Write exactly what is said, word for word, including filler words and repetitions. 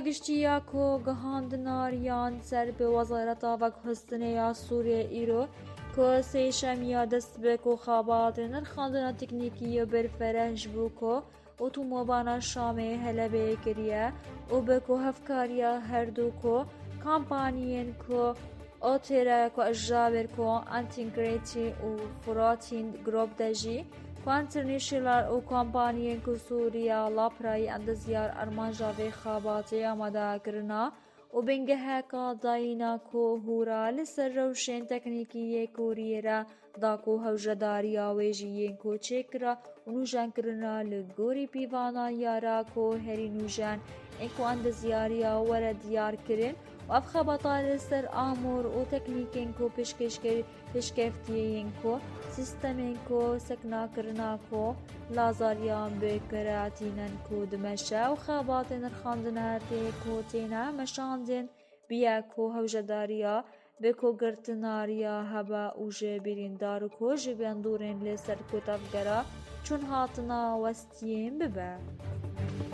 Giştî ya ku gihandina riyan ser bi Wezareta Veguhestinê ya Sûriyê îro ku sêşemiya dest bi ku xebatê nirxandina teknîkî û berfireh ji bo ku otomobana Şamê Helebê kiriye û bi ku hevkariya herdu ku kampaniyên ku Otêre ku ji ber ku Integrity û Furatin Group de jî ku International û kompaniyên ku Sûriya Laprayî endezyar armanca vê xebatê amade kirina û bingeheka dayîna ku hûra li ser rewşên teknîkî yê Kûriyê re da ku hewjedariya wê jî yên ku çêkira û nûjenkirina li gorî pîvana yara ku herî nûjen ên ku endezyariya were diyar kirin û ev xebata li ser amûr û teknîkên ku pêşkêşkir pêşkeftiyê yên ku sîstemên ku seknakirina ku lazariyan bi kire tînin ku dimeşe û xebatên nirxandine tê ku têne meşandin biye ku hewjedariya bi ku girtina riya hebe û ji birîndar ku ji bandorên li ser ku tevgera çûn hatina westiyên bibe.